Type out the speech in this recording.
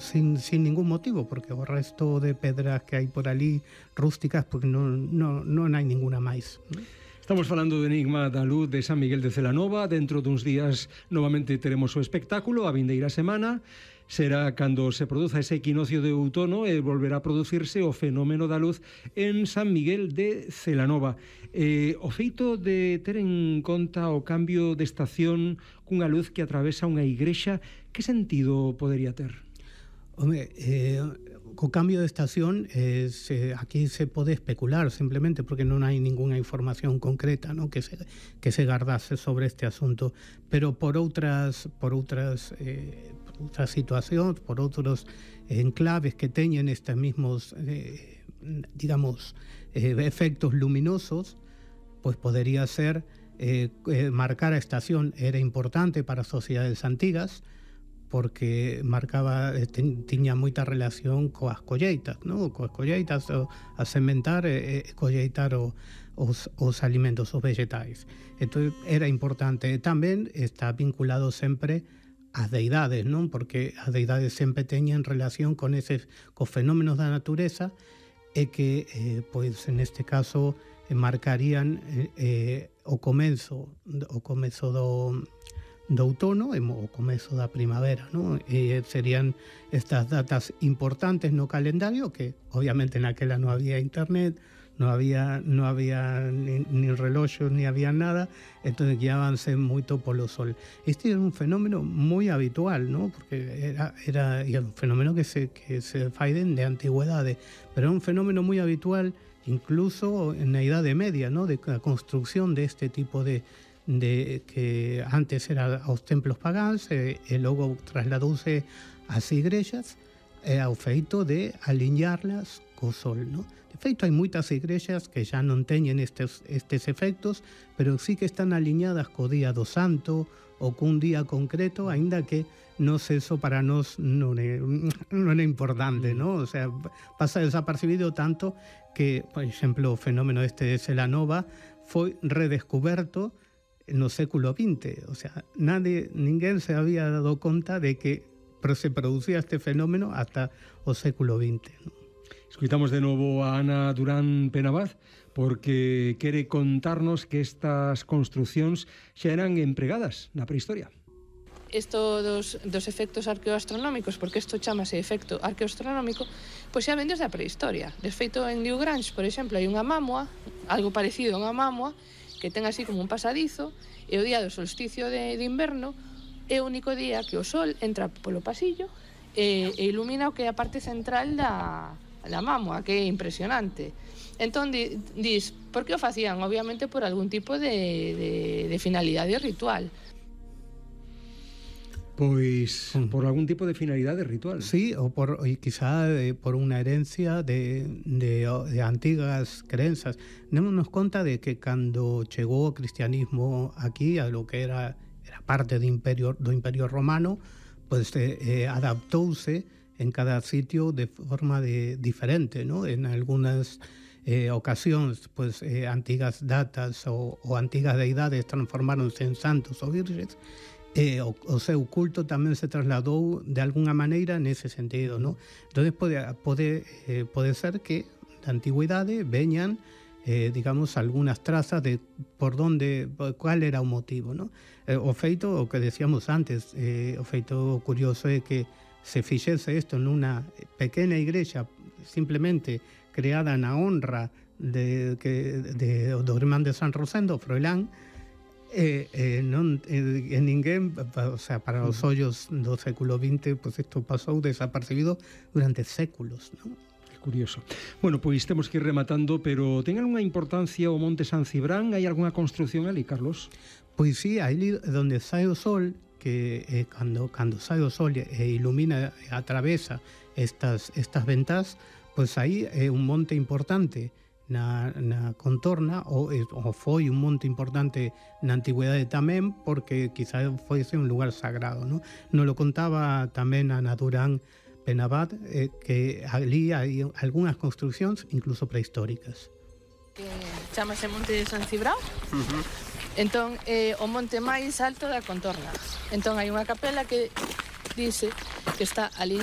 sin ningún motivo, porque o resto de pedras que hai por ali rústicas, porque non hai ninguna máis. Estamos falando do Enigma da Luz de San Miguel de Celanova. Dentro duns días novamente teremos o espectáculo. A vindeira semana será cando se produza ese equinoccio de outono e volverá a producirse o fenómeno da luz en San Miguel de Celanova. O feito de ter en conta o cambio de estación cunha luz que atravesa unha igrexa, que sentido podería ter? Home, co cambio de estación aquí se pode especular simplemente porque non hai ninguna información concreta, ¿no? que se gardase sobre este asunto, pero por outras situacións, por outros enclaves que teñen estes mismos efectos luminosos, pues podería ser marcar a estación era importante para as sociedades antigas, porque marcaba, tiña moita relación coas colleitas, ¿no? Coas colleitas, a sementar e colleitar os alimentos, os vegetais. Entón era importante. Tamén está vinculado sempre ás deidades, non? Porque as deidades sempre teñen relación con cos fenómenos da natureza e que, pois, neste caso, marcarían o comezo do outono e o comezo da primavera, ¿no? E serían estas datas importantes no calendario, que obviamente naquela non había internet, non había ni reloxos, ni había nada, entón guiábanse moito polo sol. Este é un fenómeno moi habitual, ¿no? Porque era un fenómeno que se fai de antigüedade, pero é un fenómeno moi habitual incluso na Idade Media, ¿no? De a construción deste tipo de que antes era aos templos pagáns e logo trasladouse ás igrexas ao feito de aliñarlas co sol, ¿no? De feito, hai moitas igrexas que xa non teñen estes efectos, pero sí que están aliñadas co día do santo ou cun día concreto, aínda que eso para nós non é importante, ¿no? O sea, pasa desapercibido tanto que, por exemplo, o fenómeno de Celanova foi redescoberto no século XX, o sea, ninguén se había dado conta de que se producía este fenómeno hasta o século XX, ¿no? Escoitamos de novo a Ana Durán Penabaz, porque quere contarnos que estas construcións xa eran empregadas na prehistoria. Isto dos efectos arqueoastronómicos, porque isto chamase efecto arqueoastronómico, pois xa ven desde a prehistoria. De feito, en Newgrange, por exemplo, hai unha mámoa, algo parecido a unha mámoa, que ten así como un pasadizo, e o día do solsticio de inverno é o único día que o sol entra polo pasillo e ilumina o que é a parte central da mámoa, que é impresionante. Entón, dis, por que o facían? Obviamente por algún tipo de finalidade ritual. Pois por algún tipo de finalidade ritual. Sí, ou quizá por unha herencia de antigas crenzas. Démonos conta de que cando chegou o cristianismo aquí, a lo que era parte do Imperio Romano, pues adaptouse en cada sitio de forma diferente, ¿no? En algunhas ocasións, pues antigas datas ou antigas deidades transformáronse en santos ou virxes, o seu culto tamén se trasladou de alguna maneira nese sentido, ¿no? Entón pode ser que da antigüidade veñan digamos, algunhas trazas de cuál era o motivo, ¿no? O feito, o que decíamos antes, o feito curioso é que se fixese isto nunha pequena igrexa simplemente creada na honra do irmán de San Rosendo, Froilán, ninguén, o sea, para os ollos do século XX, pues isto pasou desapercibido durante séculos, non? Curioso. Bueno, pois temos que ir rematando, pero ten algunha importancia o Monte San Cibrán? Hai algunha construción ali, Carlos? Pois sí, aí onde sai o sol, que cando sai o sol e ilumina e atravesa estas ventás, pois aí é un monte importante na contorna, ou foi un monte importante na antigüedade tamén, porque quizá foise un lugar sagrado, non? Nos lo contaba tamén Ana Durán Penabaz, que ali hai algunhas construcións incluso prehistóricas. Chámase Monte de San Cibrán. Entón, é o monte máis alto da contorna. Entón, hai unha capela que dice que está ali